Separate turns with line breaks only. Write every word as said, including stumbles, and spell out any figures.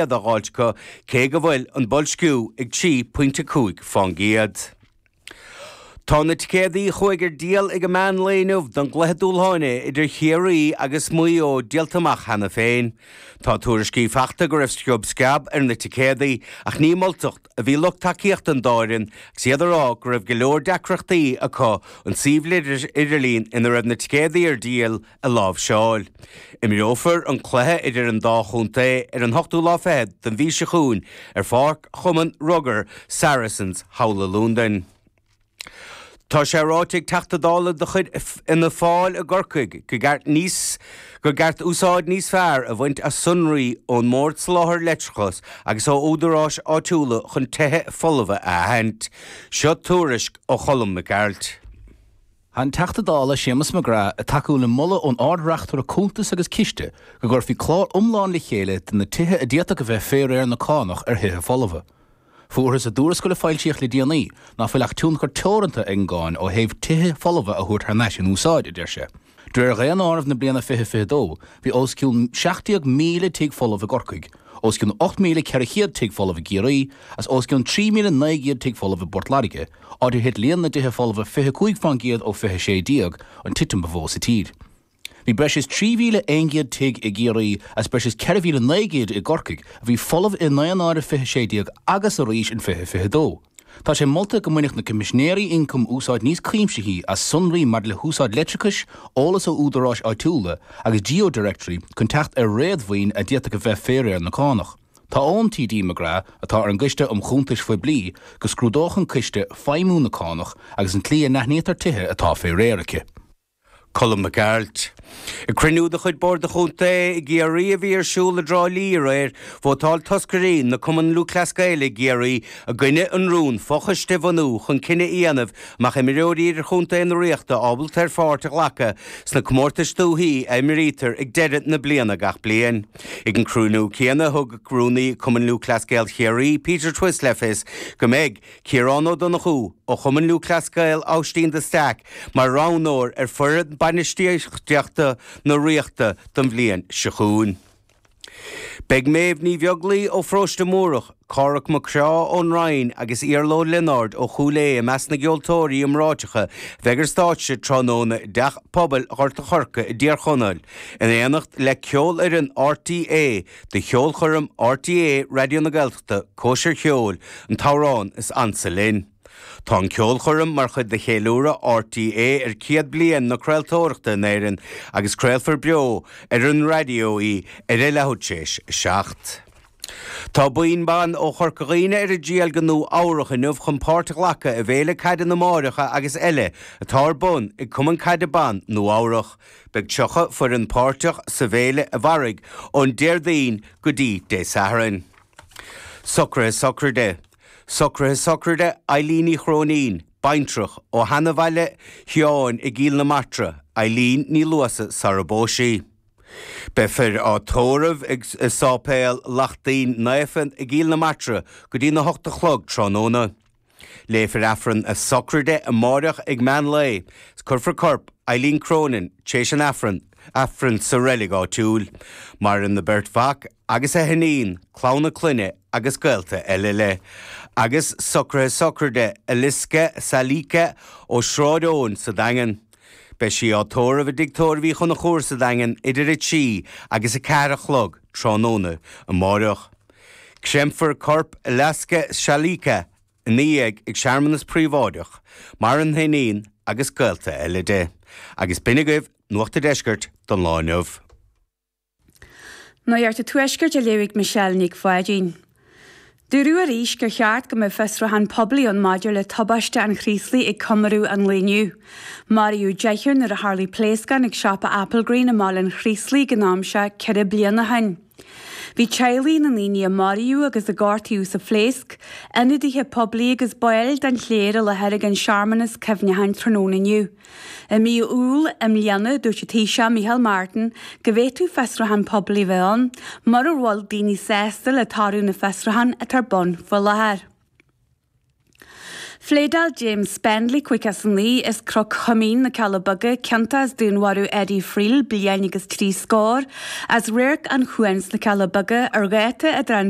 á fháilt acu cé go bhfuil an boilsciú ag trí pointe cúig faoin gcéad. Tá na ticéadaí a chuaigh ar díol ag an meán lae inniu don gcluiche dúshláin idir Chiarraí agus Maigh Eo díolta amach cheana féin. Tá tuairiscí faighte go raibh sciob sceab ar na ticéadaí ach ní moltacht a bhí lucht tacaíochta an dá fhoireann agus iad ag rá go raibh go leor deacrachtaí acu an suíomh idirlín ina raibh na ticéadaí ar díol a láimhseáil. Imreofar an cluiche idir an dá chontae ar an hochtú lá fichead den mhí seo chugainn ar pháirc Chumann Rugair Saracens Halla Lúndain. Tá sé ráite ag Teachta Dála de chuid Fhianna Fáil i gCorcaigh go gceart níos go gceart úsáid níos fearr a bhaint as sonraí ón mBord Soláthair Leictreachais agus ó údaráis áitiúla chun tithe folmha a aithint. Seo tuairisc ó Cholm Mac Gearailt.
An Teachta Dála Séamus McGrath ag tacú le moladh ón Ard-Reachtaire Cuntas agus Ciste go gcuirfí clár iomlán le chéile de na tithe a d'fhéadfadh a bheith fé réir na cánach ar thithe folmha. Fuarthas i dtuarascáil a foilsíodh le déanaí ná fuil ach tionchar teoranta ag an gcáin ó thaobh tithe folmha a thabhairt thar n-ais in úsáid, a deir sé. De réir dhaonáireamh na bliana fiche fiche dó, bhí os cionn seacht déag míle tigh folamh i gCorcaigh, os cionn ocht míle ceithre chéad tigh folamh i gCiarraí, agus os cionn trí míle naoi gcéad tigh folamh i bPort Láirge, áit ar thit líon na dtithe folmha fiche cúig faoin gcéad ó fiche sé déag, an titim ba mhó sa tír. Bhí breis is trí mhíle aon gcéad tigh i gCiarraí agus breis is ceithre mhíle naoi gcéad i gCorcaigh a bhí folamh i ndaonáireamh fiche sé déag agus arís in fiche fiche dó. Tá sé molta go mbainfeadh na Coimisinéirí Ioncaim úsáid níos cuimsithí as sonraí maidir le húsáid leictreachais, eolas ó údaráis áitiúla agus GeoDirectory chun teacht ar réadmhaoin a d'fhéadfadh a bheith fé réir na cánach. Tá ón T D McGrath, atá ar an gCoiste um Chuntais Phoiblí, go scrúdódh an coiste feidhmiú na cánach agus an tslí a n-aithnítear tithe atá fé réir aici.
Colm Mac Gearailt. Ag cruinniú de chuid Bord an Chontae i gCiarraí a bhí ar siúl i dTrá Lí aréir, vótáil toscairí na Cumann Lúthchleas Gael i gCiarraí i gcoinne an rún fochoiste a bhunú chun cinneadh a dhéanamh an mbeadh imreoirí idirchontae na Ríochta ábalta ar pháirt a ghlacadh sna comórtais dúichí a imrítear ag deireadh na bliana gach bliain. Ag an cruinniú céanna thug rúnaí Cumann Lúthchleas Gael Chiarraí Peter Twiss le fios go mbeidh Ciarán Ó Donnchú ó Chumann Lúthchleas Gael Aibhistín de Staic mar roghnóir ar foireann bainistíochta na Ríochta don bhliain seo chugainn. Beidh Méabh Ní Bheaglaoi ó Pharóiste Múrach, Cárthach Mac Craith ón Rinn agus Iarla Ó Lionáird ó Chúil Aodha i measc na gceoltóirí iomráiteacha a bheidh ar stáitse tráthnóna i dTeach Pobail Ghort an Choirce i dTír Chonaill, in éineacht le ceolfhoireann R T É do cheolchoirm R T É Raidió na Gaeltachta Cóisir Cheoil, an t-amhrán is ansa linn. Tá an ceolchoirm mar chuid de cheiliúradh R T É ar céad bliain na craoltóireachta in Éirinn agus craolfar beo ar an raidió í ar a leathuair tar éis a seacht. Tá buíon ban ó Chorca Dhuibhne ar a dtriall go Nua Eabhrac inniu chun páirt a ghlacadh i bhféile caide na máithreacha agus eile atá ar bun ag Cumann Caide Ban Nua Eabhrac. Beidh tríocha foireann páirteach sa bhféile a mhairfidh ón Déardaoin go dtí Dé Sathairn. Socruithe sochraide. Socruithe sochraide Eileen Ní Chróinín, baintreach ó Sheanabhaile Sheáin i gCill na Martra, Eileen Ní Luasa sara bpós sí. Beifear á tórramh ag Sáipéal Lachtaín Naofa i gCill na Martra go dtí na hocht a chlog tráthnóna. Léifear Aifreann a sochraide amárach ag meán lae, cuirfear corp Eileen Cronin tar éis an Aifreann Aifreann sa reilig áitiúil, maireann a beirt mhac agus a hiníon, clann a clainne agus gaolta eile léi. Agus socruithe sochraide Eliska Salika ó Sráid Eoin sa Daingean. Beidh sí á tórramh i dtigh tórraimh Uí Chonchúir sa Daingean idir a trí agus a ceathair a chlog tráthnóna amárach. Créamfar corp Eliska Salika ina dhiaidh ag searmanas príobháideach, maireann a hiníon agus gaolta eile di. Agus b'in agaibh Nuacht an Deiscirt don lá inniu.
Nuacht an Tuaiscirt á léamh ag Michelle Nic Pháidín. Dúradh arís gur cheart go mbeadh fiosrúchán poiblí ann maidir le tubaiste an Chraoslaigh ag comóradh an lae inniu. Maraíodh deichniúr nuair a tharla pléascán ag siopa Applegreen i mBaile an Chraoslaigh ag an am seo ceithre bliana ó shin. Bhí teaghlaigh na ndaoine a maraíodh agus a gortaíodh sa phléasc, ionadaithe poiblí agus baill den chléir i láthair ag an searmanas cuimhneacháin tráthnóna inniu. I mí Iúil i mbliana dúirt an Taoiseach Micheál Martin go bhféadfadh fiosrúchán poiblí bheith ann, mura bhfuil daoine sásta le toradh na fiosrúchán atá ar bun faoi láthair. Phléadáil James Spendley caoga is a naoi as Cnoc Choimín, na Cealla Beaga, ciontach as dúnmharú Eddie Friel, bliain agus trí scór, as Radharc an Chuain sna Cealla Beaga ar dháta idir an